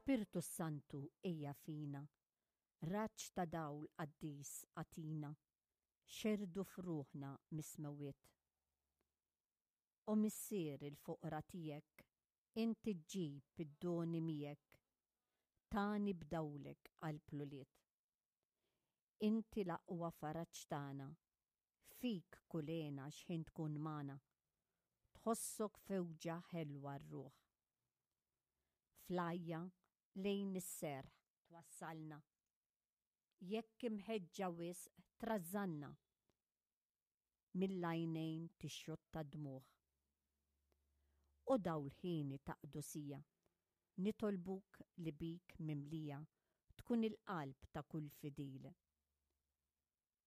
Spirtu s-Santu ejja fina, raġġ ta' dawl qaddis agħtina, xerrdu f'ruħna mis-smewwiet. O Missier il-foqra tiegħek, int iġġib id-doni miegħek, tagħni b'dawlek qalb l-ulied. Inti l-aqwa faraġ tagħna, fik kull hena x'ħin tkun magħna, tħossok fewġa ħelwa r-ruħ. Fl-għajja lejn is-serħ twassalna, jekk imħeġġa wisq trażżanna, mill-għajnejn tixxotta d-dmugħ. O dawl ħieni ta' qdusija, nitolbuk li bik mimlija tkun il-qalb ta' kull fidil.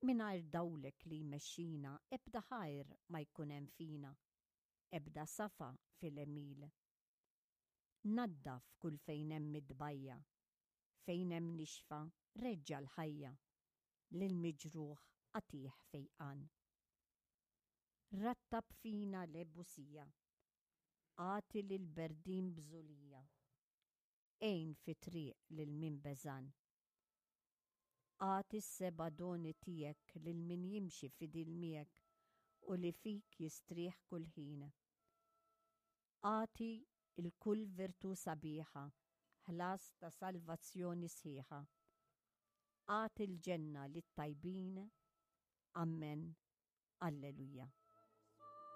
Mingħajr dawlek li jmexxina ebda ħajr ma jkun hemm fina, ebda safa fil-għemil. Naddaf kull fejn hemm it-tbajja', fejn hemm nixfa reġġa' l-ħajja, lill-miġruħ agħtih fejqan. Rattab fina l-ebusija, agħti lill-berdin bżulija, għin fit-triq lil min beżgħan. Agħti s-seba' doni tiegħek lil min jimxi fidil miegħek u li fik jistrieħ kull ħin. Agħti 'l kull virtù sabiħa ħlas ta' salvazzjoni sħiħa. Agħti l-ġenna lit-tajbin. Ammen. Alleluja.